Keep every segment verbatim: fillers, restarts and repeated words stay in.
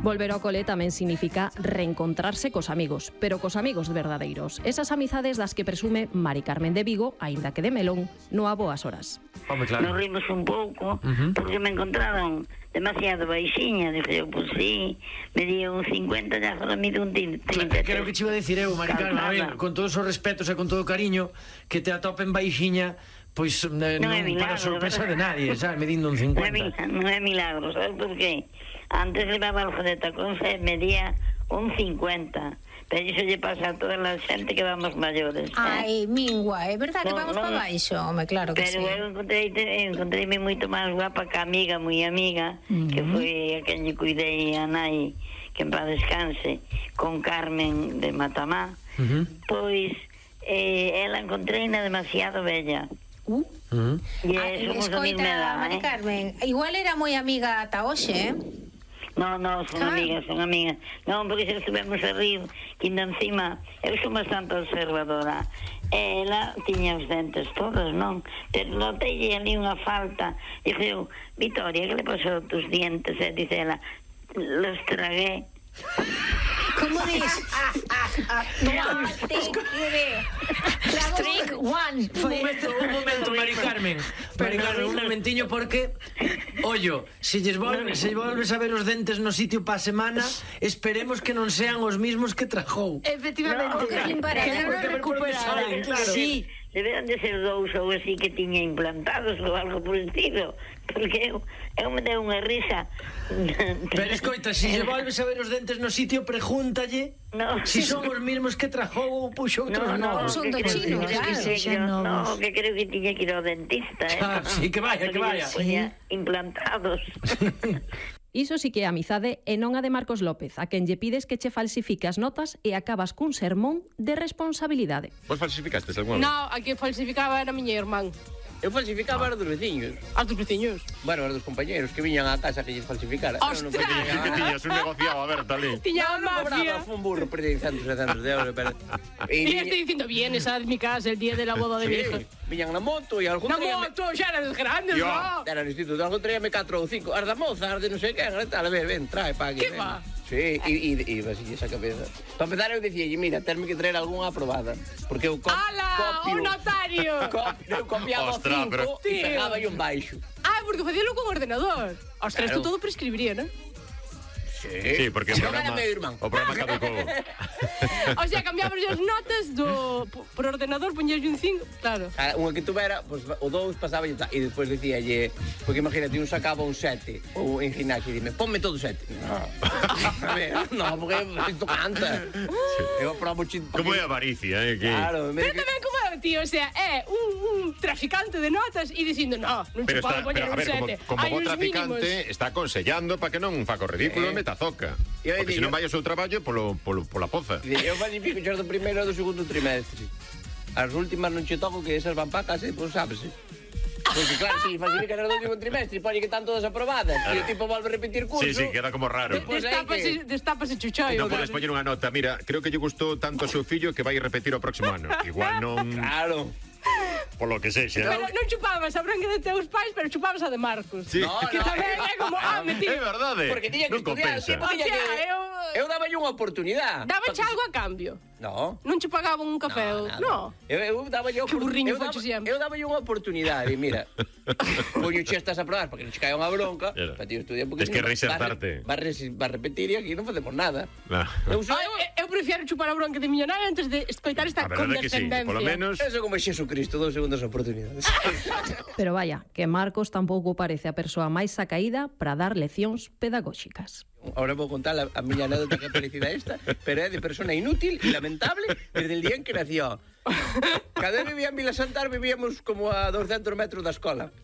Volver ao cole tamén significa reencontrarse cos amigos, pero cos amigos verdadeiros. Esas amizades das que presume Mari Carmen de Vigo, aínda que de melón, no a boas horas. Home, claro. Nos rimos un pouco, Uh-huh. porque me encontraron demasiado baixiña. Dije eu, pues sí, me dio un cincuenta, ya solo mido un trinta. Creo que te iba a decir eu, Mari Carmen, a ver, con todos os respetos e con todo o cariño, que te atopen baixiña, pois eh, non, Non é milagro, para sorpresa de ¿verdad? nadie, sabes, medindo un Non é, cincuenta. milagro, non é milagro, sabes por qué? Antes levaba algo de tacón, se medía un cincuenta. Pero iso lle pasa a toda a xente que vamos maiores. Ai, mingua, é verdad que Non, vamos non. para baixo, home, claro que Pero sí. eu encontrei, encontreime moito máis guapa que a amiga, moi amiga, Mm. que foi a quen lle cuidei a nai, que en paz descanse, con Carmen de Matamá. Uh-huh. Pois eh, ela encontreina demasiado bella. Uh. Uh-huh. E Ah, eh, somos a mesma escoita, edad, Mari eh? Carmen, igual era moi amiga ata hoxe, eh? No, no, son Ah. amigas, son amigas. Non, porque se estuvemos a rir, que ainda encima, eu sou bastante observadora. Ela tiña os dentes todos, non? Pero notei ali unha falta. Dixe eu, Victoria, que le pasou tus dientes? E dice ela, los tragué. Como dis? No, te quere. Streak one. Un momento, un momento, Mari Carmen. Mari Carmen, un momentiño, porque ollo, se lles volve, se volves a ver os dentes no sitio pa semana, esperemos que non sean os mismos que trajou. Efectivamente, No, que, que para que nada. non recuperaran. Claro. Sí. Deberan de ser dous ou así que tiña implantados ou algo por el estilo. Porque eu, eu me deu unha risa. Pero escoita, se lle volves a ver os dentes no sitio, pregúntalle No. si son os mismos que trajou ou puxo outros novos. son do que creo chino, que- claro. que creo- Son No, novos. que creo que tiña que ir ao dentista, eh. Ah, sí, que vaya, que Porque vaya. lle poña implantados. Iso sí que é amizade e non a de Marcos López, a quen lle pides que che falsifique as notas e acabas cun sermón de responsabilidade. Vos falsificastes algunha vez? No, a que falsificaba era a miña irmán. Eu falsificaba as dos veciños. As dos veciños. Bueno, as dos compañeros que viñan á casa que lles falsificara. Ostras! Pero non Que tiñas un negociado aberto ali. Tiña a No, no mafia. cobraba, fue un burro, perdí centos e centos de euros. Pero... Y E estoy diciendo, vienes a mi casa el día de la boda de mi hija. sí, viñan na moto e algún No, día... moto, xa eras grandes, Yo. no. Era no instituto, algún traíame catro ou cinco. As da moza, as de non sei quen, tal, a ver, ven, trae pa aquí. Que ven. va? Sí, e, e, e así esa cabeza. Para empezar eu dicía, mira, terme que traer algunha aprobada. Porque eu co ¡Hala! copio... ¡Un notario! Copio, eu copiaba Ostras, cinco pero- e Tío. pegaba un baixo. Ah, porque facíalo con ordenador. Ostras, Claro. tú todo prescribiría, ¿no? Sí, Sí, porque o non era programa, meu irmán. o programa caducou. O sea, cambiamos as notas do por ordenador, poñías un cinco, claro. Ah, unha que tuvera, pues, o dous pasaba e tal. E despois dicíalle, porque imagínate, un sacaba un sete ou en gimnasio e dime, ponme todo sete. No. A ver, no, porque isto canta. Eu aprobo chi... Como é a avaricia, eh? Que... Claro, me Pero tamén como é, tío, o sea, é un, un traficante de notas e dicindo, no, non Pero che podo está, poñer pero, a un ver, como, sete. como Hai bo uns traficante mínimos. está aconsellando para que non faca o ridículo Eh. e meta zoca. Eu Porque digo- se non vai o seu traballo polo, polo, pola poza. E eu falsifico xos do primeiro e do segundo trimestre. As últimas non che toco, que esas van pa casa e depois sábese. Porque claro, si falsificas as do último trimestre, pone que están todas aprobadas. E o tipo volve a repetir curso. Sí, sí, queda como raro. Pois aí Destápase, que- destápase chuchoio. Non podes poñer unha nota. Mira, creo que lle gustou tanto ao seu fillo que vai repetir o próximo ano. Igual non... Claro. Polo que sexa. Pero non chupabas a branca de teus pais, pero chupabas a de Marcos. Sí. No, Que no, tamén é como, ah, É metí. verdade. Porque tiña que non estudiar, compensa. tipo, tiña Hostia, que... eu- Eu daba unha oportunidade. Daba algo a cambio. No. Non che pagaban un café. No, nada. No. Eu, eu daba yo Que burriño eu daba, foches sempre. eu daba yo unha oportunidade, mira. Poño chestas a probar porque non che cae unha bronca, Claro. para ti estudiar porque Tes que si no, reinsertarte. Va, va, va a repetir e aquí non facemos nada. No. Eu sou Ai, eu prefiero chupar a bronca de millonario antes de escoitar esta A verdade é que sí, condescendencia. polo menos... Eso como Xesucristo, dous segundos oportunidades. Pero vaya, que Marcos tampouco parece a persoa máis sacaída para dar leccións pedagóxicas. Ahora vou contar a, a miña anécdota que felicidade esta, pero é de persona inútil e lamentable desde el día en que nació. Cada vez vivía en Vila Santar, vivíamos como a doscientos metros da escola.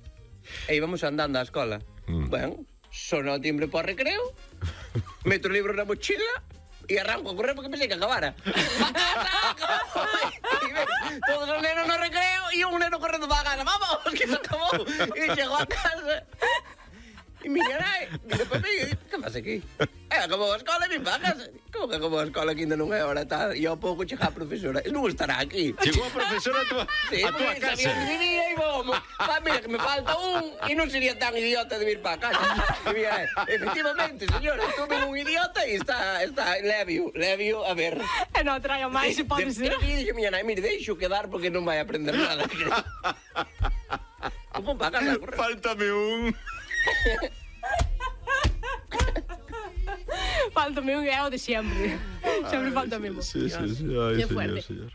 E íbamos andando á escola. Mm. Bueno, sono o timbre para o recreo, meto o libro na mochila e arranco a correr porque pensei que acabara. E ven, todos os nenos no recreo e un neno correndo para a casa. Vamos, que se acabou. E chegou a casa. E miña nai, mira para mí e di, que faz aquí? E acabou a escola e vim para a casa. Como porque como a escola que ainda non é hora tal, e ao pouco chega a profesora, e non estará aquí. Chegou a profesora a tua, Sí, a tua porque casa. sabía que vivía e vamos. Pa, mira, que me falta un e non sería tan idiota de vir para casa. E mira, efectivamente, señora, estuve un idiota e está, está, levio, levio, a ver. E non traia máis, se pode ser. Pero que dixo miña nai, mire, deixo quedar porque non vai aprender nada. Como para casa, corre. Fáltame un. Faltame un é o de sempre. Sempre falta mesmo. Sí, sí, sí. Ay, Qué señor, fuerte. señor.